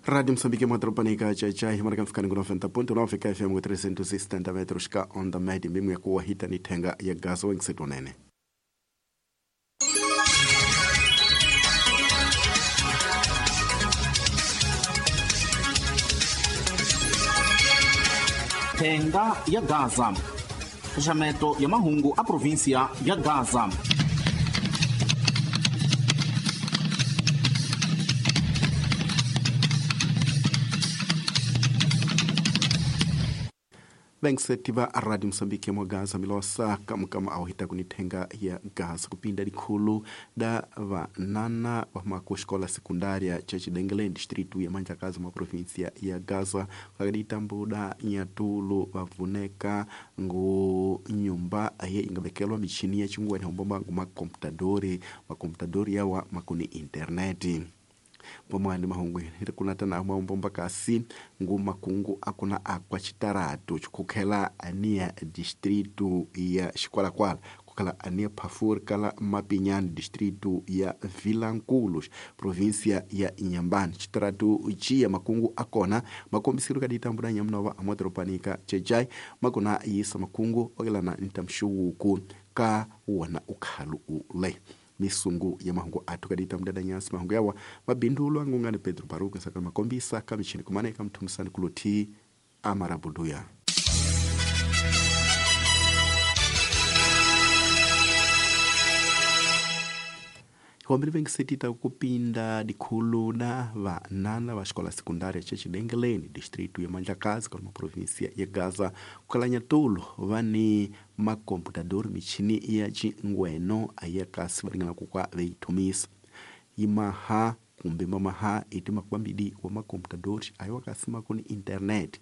Rádio Moçambique, Madropanica, Chai, marca ficando com 90.9 FM 370 metros ka onda média, mesmo ya kuwa hita ni tenga ya gaso wengisetonene. Thenga ya Gaza. Xaxameto ya mahungu a província ya Gaza. Vengisetiva a Rádio Moçambique mwa Gaza milosa kamukama awahita kunithenga ya Gaza kupinda likhulu da vanana va kuxikola sekundária cha Xidengelen distrito ya Manjakazi mwa província ya Gaza kakaditambuda nyatulu vavuneka ngu nyumba aye ingavekelwa michini ya chingwani hombomba ngu makomputadori makomputadori yawa makuni interneti pamwani mahungu kunata na maombomba kasi ngu makungu akuna akwa chitaratu chikukhela ania distrito ya Xikwalakwala kukhala ania Phafuri kala Mapinyani distrito ya Vilankulos província ya Inhambane. Chitaratu chiya makungu akona makombisiro kaditambula nyamunova amodoropanika chechai makona yisa makungu okelana ntamxuwuku ka wona ukhalu ule misungu ya mahungu athu kadita mdada nyasi mahungu yawa mabindulo angungani Pedro Baruku nsaka makombisa kamichini kumaneka mthumisani kuluthi amarabuduya. Hiwambiri vengisetita kupinda dikhulu da vanana va xikola sekundária cha Xidengeleni distrito ya Mandlakazi ka província ya Gaza kukhala nyatulu va ni makomputadori michini ya xingweno aya kasi va ringana ku kwa veyithomisa yimaha kumbe mamaha iti makwambidi wa makomputadori ayiwa kasi makuni internet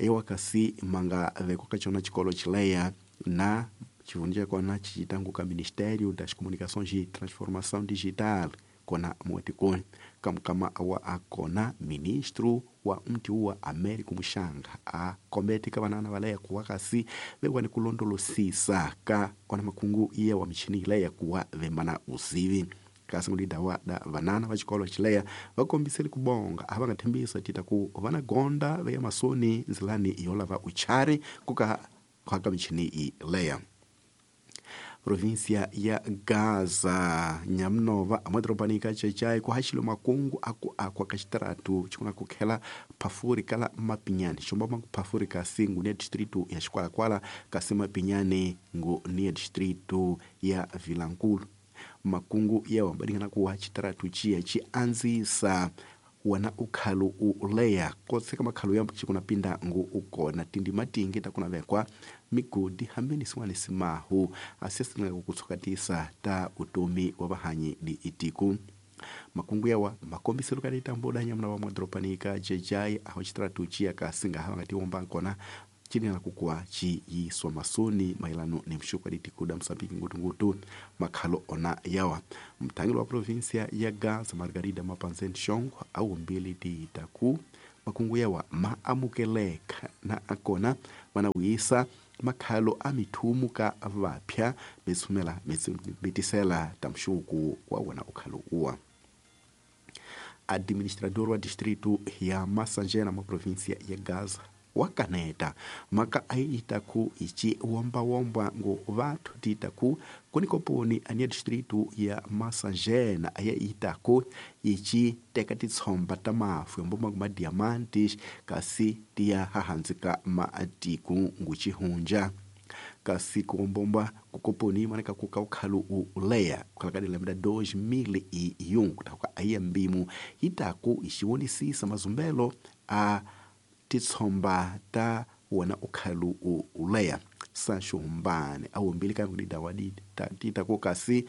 ayiwa kasi manga vekwa ka cona xikolo xileya na chivundu chakona chichitangu ka Ministério das Comunicações e Transformação Digital kona muatikoni kamukama awa akona ministro wa mti wa Américo Muxanga a kombete ka vanana valeya kuwa kasi vekwani kulondolosisa ka kona makungu iya wa michini ileya kuwa vemana uzivi kasi ngulida da vanana va xikolo xileya va kombisele kubonga a va nga thembisa tita ku vana gonda veya masoni nzilani yo lava uchari kuka khwaka michini ileya. Província ya Gaza nyamunova amadoropanika chechai kuhaxile makungu aku akwa ka xitaratu xikuna kukhela Phafuri kala Mapinyani xomba maku Phafuri kasi ngu ni ya distrito ya Xikwalakwala kasi Mapinyani ngu ni ya distrito ya Vilankulu. Makungu yawa badingana kuwa xitaratu chiya xi andzisa wana ukhalu uleya koseka makhalu ya chikuna pinda ngu ukona tindi matingi takuna vekwa migodi hambeni sin'wana simahu asiyasinga kutsukatisa ta utomi wa vahanyi di itiku. Makungu yawa makombiselo ka ditamboda nyamuna wa madoropanika jejai aho xitaratu chiya kasi nga hava nga tiwomba nkona chini kukua chi yiswa masoni mailano ni mshuku aditiku da Msambiki ngutungutu makhalo ona yawa. Mthangeli wa província ya Gaza Margarida Mapanzen Shongo awumbili titaku makungu yawa maamukeleka na akona vanawisa makhalo a mithumu ka vapya mitsumela mitisela ta mshuku wa wona ukhalo uwa. Administrador wa distrito ya Massangena ma província ya Gaza wakaneta maka aitaku ichi wombawomba ngu vathu titaku kunikoponi ania distrito ya Massangena aya itaku ichi teka titshomba ta mafu yomboma kuma diamantes kasi tiya hahanzika maatiku ngu chihunja kasi kuombomba kukoponi maneka kuka ukhalu uleya kukhalakadila mda 2001 kutaka aiya mbimu itaku ichiwonisisa mazumbelo a titshomba ta wona ukhalu uleya Sancho Humbane awumbili ka ngudida wadi tita ku kasi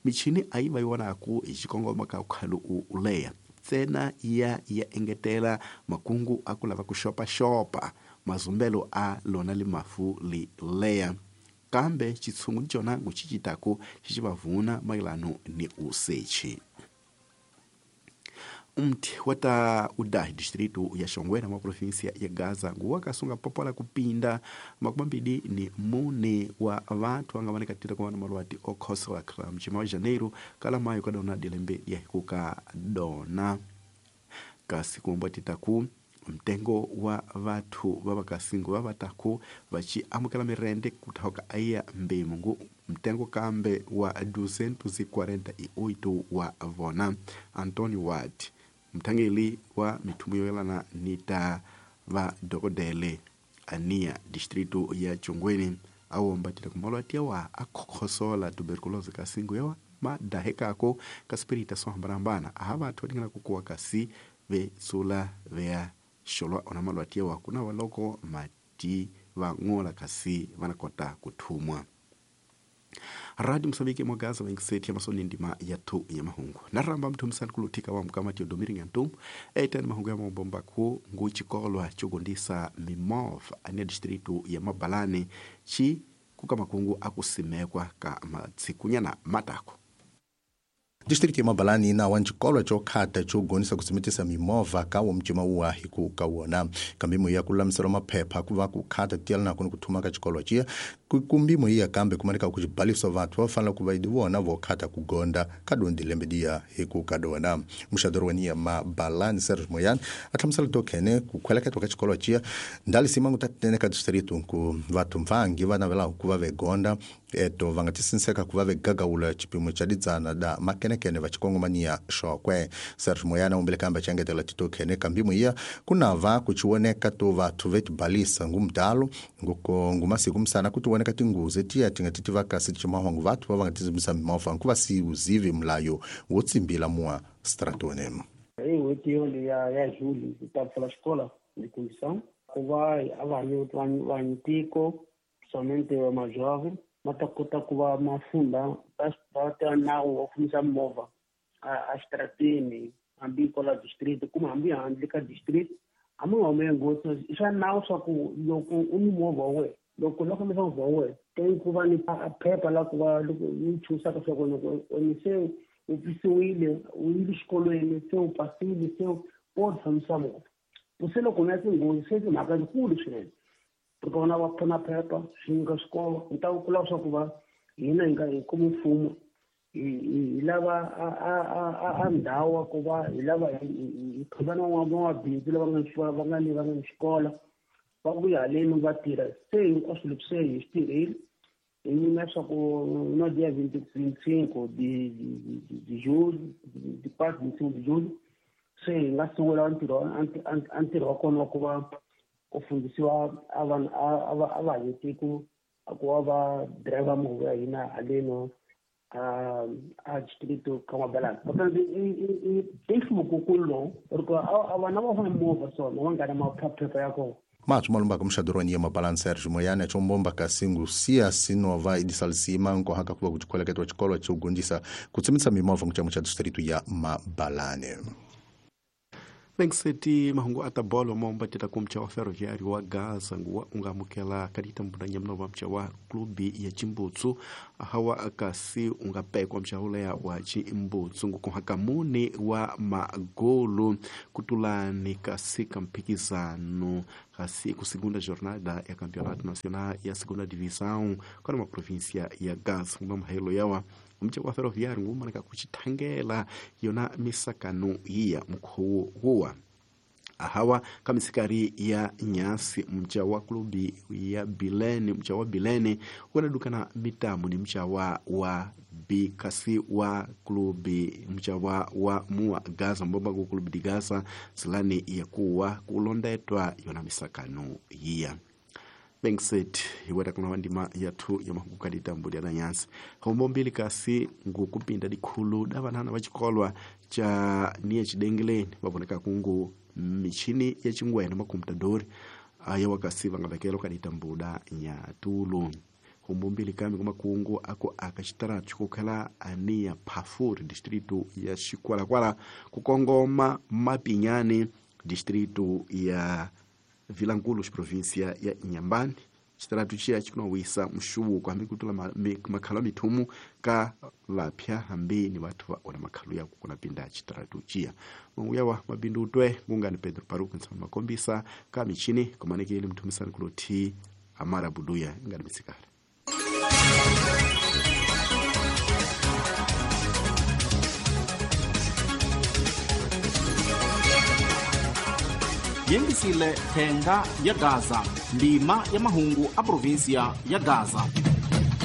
michini ayiva yonaku hi xikongoma ka ukhalu uleya tsena ya engetela makungu aku lava ku xopaxopa mazumbelo a lona li mafu li leya kambe xitshungu ni cona ngu xicitaku xi vavuna mayelano ni usechi. Mti wata udahi distrito ya Xongwena mwa província ya Gaza nguwa kasunga popola kupinda makumambili ni mune wa vanthu anga vanekatira kuva na malwati okhosola khala mchima wa Janeiro kala mayo kadona dilembe ya hikuka dona. Kasi kuombatitaku mtengo wa vathu va vakasingo va vataku vachi amukela mirende kuthoka aiya mbimu ngu mtengo kambe wa 248 wa vona. Antonio Ward mthangeli wa mithumu yoyelana ni ta va dokodele ania distrito ya Chongweni awombatela kumalwati yawa akhokhosola tuberculosis kasingo yawa madahekako kasipirita sohambanahambana aha vathu vatingana kukuwa kasi vetsula vea xolwa ona malwati yawa kuna waloko mati vang'ola kasi vanakota kuthumwa. Radio Mosambiki mwagaza vengiseti ya masoni ndima ya tu ya mahungu naramba mthumisani kuluthika wa mkamati odomiringa ntum eitani mahungu ya mabomba ku ngu chikolwa chogondisa mimov ania distritu ya Mabalani chi kuka makungu akusimekwa ka matsikunyana matako. Distrito ya Mabalani ina wa ncikolo cokhata cogonisa kusimitisa mimovha ka wo mcima uwahi ku ka wona kambimo ya kululamisela maphepha ku va ku khata tiyela nakoni ku thuma ka xikolo ciya kumbimo iya kambe kumanika ku xibaliso vathu va fanele ku va idi vona vo khata ku gonda ka dondi lembe diya hi ku ka dona. Muxadori wa niya Mabalani Serge Moyani a hlamusela tokhene ku khweleketwa ka xikolo ciya ndali simangu ta tinene ka distrito ku vathu mvangi va navelaka ku va ve gonda eto va nga tisinseka ku va ve gagawula xipimo xa didzana da makenekene va xikongomaniya xokwe. Serge Moyana umbele kamba xangetela titokhene kambimo iya kunava ku chiwoneka to vathu vetibalisa ngumdalo ngumasiku msana kuti woneka tinguzi tiya tinga titiva kasi timahwangu vathu va va nga tizimisa mimovha nkuva si uzivi mulayo wo tsimbila mua stratone. Hi n'hweti yoli ya Juli hi ta pfula xikola de condição ku va a vanhu tiko somente va majovem ma ta kota ku va mafunda va ta nawu wa fambisa movha a xitarateni hambi kwala district kumbe hambi handle ka district a mi nga hume ngopfu. I swa nawu swa ku loko u ni movha wa wena loko u fambisa movha wa wena teng ku va ni phepha la ku va loko yi chusaka swa ku loko ni se u pisiwile u yile xikolweni se u pasile se u fambisa movha se loko u ya tinghozi se timhaka tikulu swinene ri vona va pfuna phepha swi nyika swikolo ni ta kula swa ku va hina hi nga hi kuma mfumo hi lava a ndhawu wa ku va hi lava hi khoma na van'wamabindzu lava nga ni va nga ni xikola va vuya haleni va tirha se hinkwaswo leswi se hi swi tirhile hi nyima swa ku no dia 25 de julho de 4 25 de julho se hi nga sungula ntirho wa kona wa ku va ku fundisiwa a vanhu a va tiko ku va va driver movha ya hina haleno a distrito ka Mabalani. I nhluvuko lowu ri vana va fana movha swona va nga na maphepha ya kona. Mathu malumbaka muxadoroni ya Mabalani Serge Moyana chombomba kasingu siya sinova idisalisima nkohaka kuva kuchikhweleketwa xikolo chogondisa kutsimisa mimovha nkuchamo cha distrito ya Mabalani. Vengiseti mahungu ata bolo momba tita kumcha wa ferroviário wa Gaza nguwa ungamukela kadita mbudanya mnova mcha wa klubi ya Chimbutsu hawa kasi ungapekwa mcha ulea wa Chimbutsu ngukuhakamuni wa magolu kutulani kasi kampikizano kasi ku segunda jornada ya campeonato nacional ya segunda divisão kwa província ya Gaza ngumahelo yawa mcha wa ferroviário ngumanaka kuchithangela yona misakano iya mukhowo huwa ahawa kamisikari ya nyasi mcha wa klubi ya Bilene mcha wa Bilene wanadukana mitamu ni mcha wa bikasi wa klubi mcha wa mua Gaza mbomba ku klubi di Gaza silani ya kuwa kulondetwa yona misakano iya Bengset iweta kuna wandima yathu ya mahungu mbuli ya nyansi hombo mbili kasi ngukupinda dikhulu da vanhana va xikolwa cha niye xidengeleni va voneka kungu michini ya chingwene makomputadori aya wakasi va nga vekela ka ditambuda nyatulu hombo mbili kami kumakungu ako akaxitaratu xikukhela ania Phafuri distrito ya Xikwalakwala kukongoma Mapinyani distrito ya Vilankulo província ya Inhambane xitaratu xiya xikunawisa mxuvuko hambi kutula makhalo mithumu ka vapya hambi ni vathu va ona makhalo ya ku kuna pinda xitaratu xiya manguya wa mabindu utwe ngungani Pedro Paruku nsama makombisa ka michini komanekele mthumisani kulothi Amara Buduya ingani misikala. Yengisile Thenga ya Gaza, ndima ya mahungu a provinsia ya Gaza.